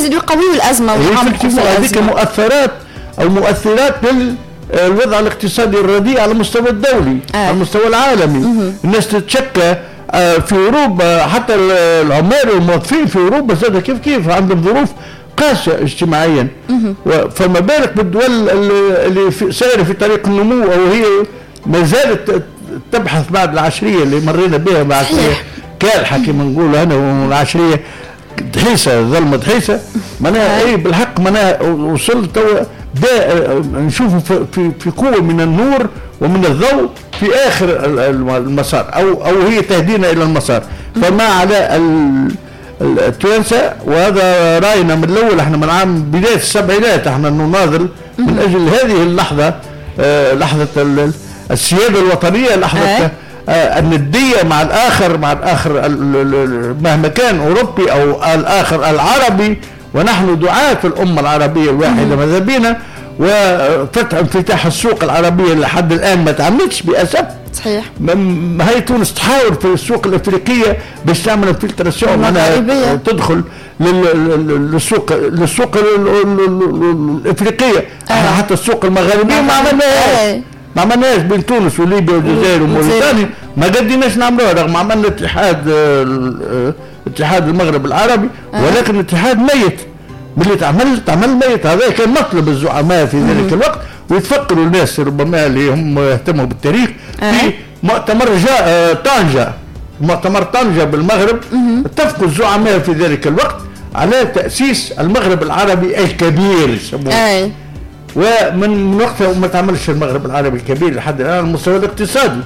يزيدوا يقويوا الازمة ويعمقوا. هذيك مؤثرات او مؤثرات للوضع الاقتصادي الرديء على المستوى الدولي، على المستوى العالمي. الناس تتشكى في اوروبا، حتى العمال والموظفين في اوروبا زاد كيف كيف عندهم ظروف قاسية اجتماعيا، فما بالك بالدول اللي سايرة في طريق النمو او هي ما زالت تبحث بعد العشريه اللي مرينا بها، بعد كالحه كما نقولوا انا، والعشريه دحيسه، ظلمه دحيسه معناها. اي بالحق معناها وصل توا نشوفوا في قوة من النور ومن الضوء في اخر المسار او هي تهدينا الى المسار. فما على التوانسه، وهذا راينا من الاول، احنا من عام بداية السبعينات احنا نناضل من اجل هذه اللحظه، لحظة السيادة الوطنيه، لحظة الندية مع الاخر، مع الاخر مهما كان اوروبي او الاخر العربي، ونحن دعاة الامة العربية الواحدة. ماذا بينا وفتح انفتاح السوق العربية لحد الان ما تعملتش باسف. هي تونس تحاول في السوق الافريقية باش تعمل infiltration، معناها تدخل للسوق الافريقيه. حتى السوق المغاربية ما عملناهاش، ما عملناش بين تونس وليبيا والجزائر وموريتانيا، ما قديناش نعملوها رغم عملنا اتحاد المغرب العربي، ولكن الاتحاد ميت ملي تعمل ميت. هذا كان مطلب الزعماء في ذلك الوقت، ويتفكروا الناس ربما اللي هم يهتموا بالتاريخ في مؤتمر جاء طنجة، مؤتمر طنجة بالمغرب، اتفقوا الزعماء في ذلك الوقت على تأسيس المغرب العربي الكبير يسموه. ومن وقتها ما تعملش المغرب العربي الكبير لحد الآن على المستوى الاقتصادي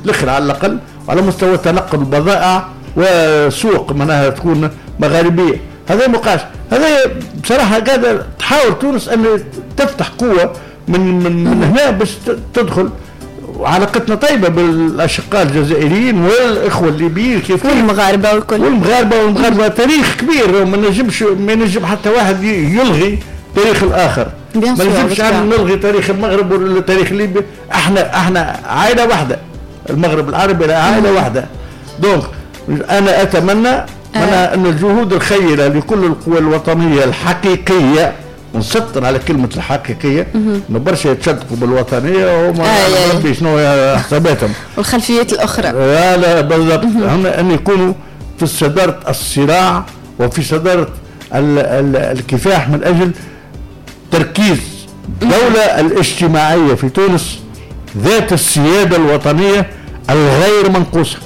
الاخر على الأقل، وعلى مستوى تنقل البضائع وسوق معناها تكون مغاربية. هذا مقاش، هذا بصراحة قاعدة تحاول تونس أن تفتح قوة من هنا باش تدخل. وعلاقتنا طيبة بالأشقاء الجزائريين والإخوة الليبيين كيف والمغاربة والكل، والمغاربة تاريخ كبير، وما نجمش، ما ينجم حتى واحد يلغي تاريخ الآخر. ما نجمش نلغي تاريخ المغرب ولا تاريخ ليبيا، احنا عائلة واحدة، المغرب العربي عائلة واحدة. donc أنا أتمنى أن الجهود الخيرة لكل القوى الوطنية الحقيقية، ونسطر على كلمة الحقيقية، انه برشا يتصدقوا بالوطنية وما ربي شنو حساباتهم والخلفيات الأخرى. لا لا بالضبط، هم أن يكونوا في صدارة الصراع وفي صدارة الكفاح من أجل تركيز الدولة الاجتماعية في تونس ذات السيادة الوطنية الغير منقوصة.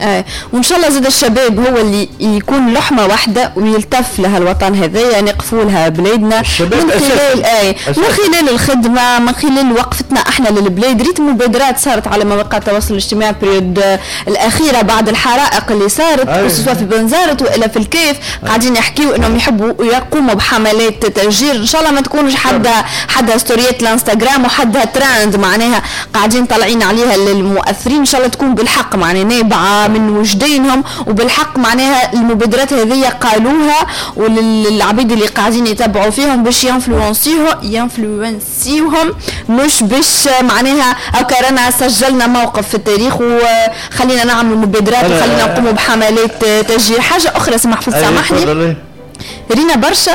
وإن شاء الله زاد الشباب هو اللي يكون لحمة واحدة ويلتف لها الوطن هذايا، نقفوا لها بلادنا من خلال من خلال الخدمة، من خلال وقفتنا احنا للبلاد. ريت مبادرات صارت على مواقع التواصل الاجتماعي période الأخيرة بعد الحرائق اللي صارت، خصوصا في بنزرت وإلا في الكيف، قاعدين يحكيوا انهم يحبوا يقوموا بحملات تشجير. ان شاء الله ما تكونش حدا ستوريات الانستغرام وحدها ترند معناها قاعدين طالعين عليها للمؤثرين. ان شاء الله تكون بالحق معناها نابعة من وجدانهم، وبالحق معناها المبادرات هذه قالوها وللعبيد اللي قاعدين يتبعوا فيهم باش ينفلونسيوهم، مش باش معناها هكا رانا سجلنا موقف في التاريخ وخلينا نعمل مبادرات وخلينا نقوموا بحملات تشجير. حاجة أخرى سمح سامحني، رينا برشا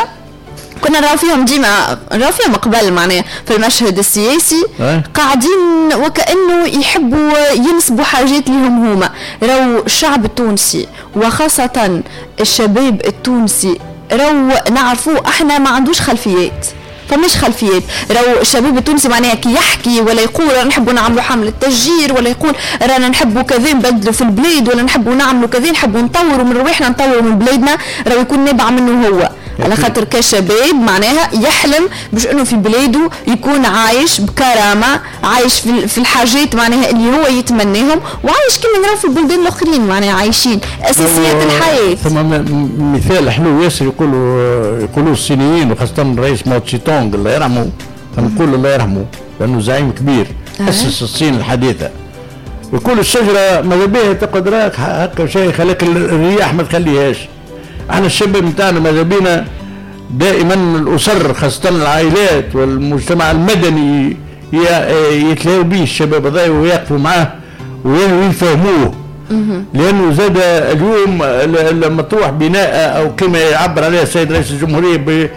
كنا نراو فيهم ديما، نراو فيهم قبل معناها في المشهد السياسي قاعدين وكأنه يحبوا ينسبوا حاجات لهم هما. راو الشعب التونسي وخاصة الشباب التونسي راو نعرفوه احنا ما عندوش خلفيات، فمش خلفيات. راهو الشباب التونسي معناها كي يحكي ولا يقول رانا نحبوا نعملوا حملة تشجير، ولا يقول رانا نحبوا كذا نبدلوا في البلاد، ولا نحبوا نعملوا كذا، نحبوا نطوروا من رواحنا، نطوروا من بلادنا، راهو يكون نابع منه هو. على خاطر كشباب معناها يحلم باش انه في بلاده يكون عايش بكرامة، عايش في الحاجات معناها اللي هو يتمناهم، وعايش كما نراو في البلدان الاخرين معناها عايشين اساسيات الحياة. ثم مثال حلو ياسر يقولوا الصينيين وخاصة الرئيس ماو تسي تونغ الله يرحمه، نقول الله يرحمه لانه زعيم كبير اسس الصين الحديثة. يقول الشجرة ماذا بها تقعد راك هكا شيخ، لكن الرياح ما تخليهاش. احنا الشباب نتاعنا ماذا بينا دائما الاسر خاصة العائلات والمجتمع المدني يتلاقوا به الشباب هذا ويقفوا معاه ويفهموه، لانه زاد اليوم لما تروح بناء او كما يعبر عليها السيد رئيس الجمهورية